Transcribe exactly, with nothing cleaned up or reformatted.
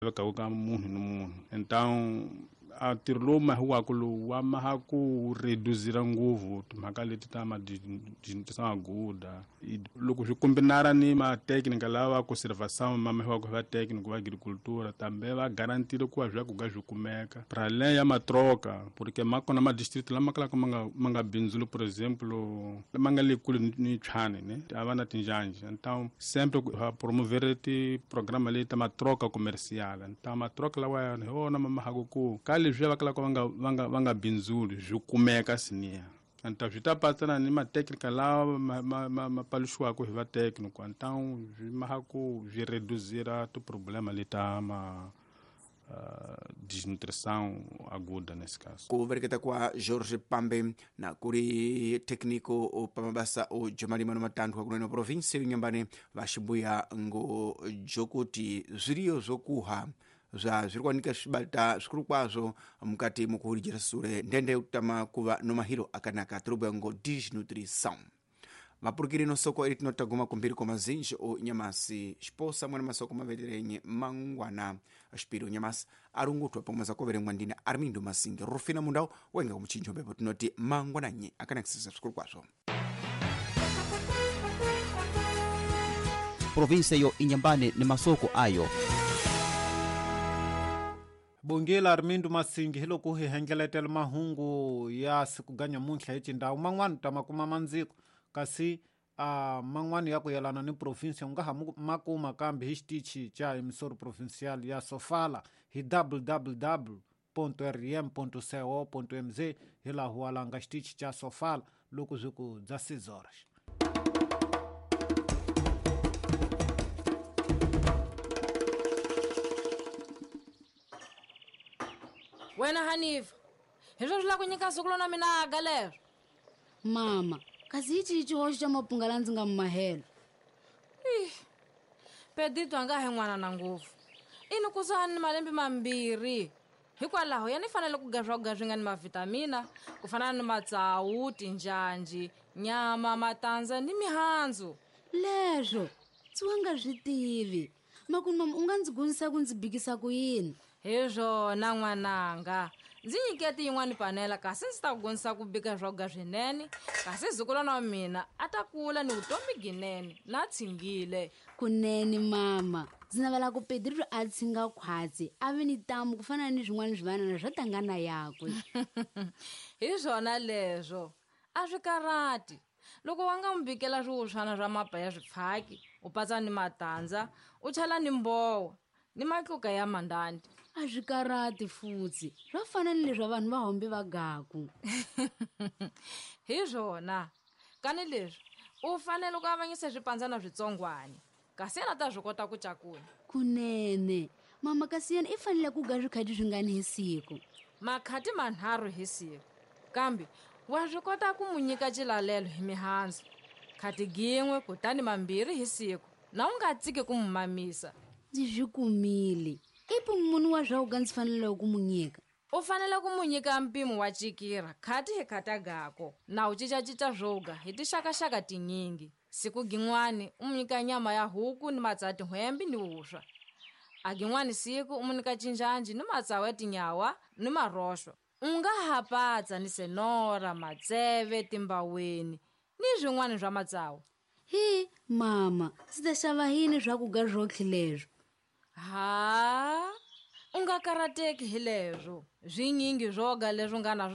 Lavekaka ka munhu ni munhu. Então a ntirho lowu mahiwaka lowu wa maha ku reduzira ngopfu timhaka leti ta maguda loko swi kombinara ni matekinika lava conservação ma mahiwaka hi vatekiniki va agricultura tambe va garantile ku va swakudya swi kumeka para além ya matroka porque ma kona ma-district lama kalaka ma nga ma nga bindzuli, por exemplo ma nga le kule ni Tshwane ne a va na tinjhanji. Então sempre va promover ti-programa leti ta matroka comercial. Então matroka lawa hi wona ma mahaka ku ka leswiya va kalaka va nga va nga va nga bindzuli swi kumeka siniya. Então swi ta patsana ni matekinika lawa ma ma ma, ma paluxiwaka hi vatekiniki. Então swi maha ku swi reduzira tiproblema leta ma uh, desnutrição aguda nesse caso. Kuvereketa kwa Jorge Pambe na kuli técnico pa mabasa o jomalima no matanthu akunene província Inhambane vaxibuya ngo jokuti zviriyo zvokuha zva zviri kuwanika zvibata zvikuru kwazvo mukati mukuhurijira sure ndende kutama kuva no mahiro akanaka tirobwa ngo desnutrição. Mapurukire no soko iri tinotaguma kumbiri kwa mazinji o nyamasi xiposa mwana masoko maveterenye mangwana xipiro nyamasi arungutwa pamwe zakoverengwa ndina Armindo Masinge Rufina Mundau wenga kumuchinjo mbepo tinoti mangwananye akanakisisa zvikuru kwazvo. Província yo Inhambane ni masoko ayo. Bongela Armindo Masingi hi loko hi hengeletela mahungu ya siku ga nyamuntlha hi xindhawu man'wana ta makuma mandziko kasi a man'wana ya ku yelana ni province u nga ha ma kuma kambe hi xitichi xa emissora provincial ya Sofala hi w w w ponto r m ponto co ponto m z hi laha huwalanga xitichi xa Sofala loko swi ku dza seis horas. Wena Hanifa, hi swo swi lava ku nyika siku lona mina aga leswo. Mama, kasi hi cihi xihoxo xa mapunga la ndzi nga mi mahelo? Pedito a nga he n'wana na ngopfu. I ni kusuhani ni malembe mambirhi. Hikwalaho ya ni fanele ku ga swakudya swi nga ni mavhitamina ku fana ni matsawu, tinjhanji, nyama, matandza ni mihandzu. Leswo ndzi wa nga swi tivi. Makunu mama u nga ndzi gonisa ku ndzi bikisa ku yini? Hi swona n'wananga, ndzi nyiketi yin'wani panela kasi ndzi ta ku gonisa ku bika swakudya swinene kasi zukulwana wa mina a ta kula ni vutomi ginene na tshingile. Kunene mama, ndzi navela ku Pedro a tshinga khwatsi a ve ni tamu ku fana ni swin'wana swivanana swo tangana yakwe. Hi swona leswo, a swi karhati. Loko wa nga n'wi bikela swiwuswana swa mapa ya swipfhaki, u patsa ni matandza, u chela ni mbowa ni matluka ya mandandi. A swi karhati futsi, swa fana ni leswi vanhu va hombe va gaku. Hi swona, kani leswi u fanele ku avanyisa swipandzana switsongwana kasi yena ta swi kota ku cakunya. Kunene mama, kasi yena i fanele ku ga swikhati swingani hi siku? Makhati manharhu hi siku, kambe wa swi kota ku mu nyika xilalelo hi mihandzu khati gin'we kutani mambirhi hi siku, na u nga tsiki ku mu mamisa. Ndzi swi kumile. I munhu wa swakudya ndzi faneleke ku mu nyika? U fanele ku mu nyika mpimo wa cikira khati hi khata gako na u cincacinca swoga hi tixakaxaka tinyingi. Siku gin'wani u mu nyika nyama ya huku ni matsawu ya tin'hwembi ni vuswa. A gin'wani siku u mu nyika cinjanji ni matsawu ya tinyawa ni maroxo. U nga ha patsa ni senora, matseve, timbaweni ni swin'wana swa matsawu. Hi mama, ndzi ta xava yini swakudya swotlhe leswo? Ha, u nga karateki hi leswo. Swinyingi swoga leswi nga na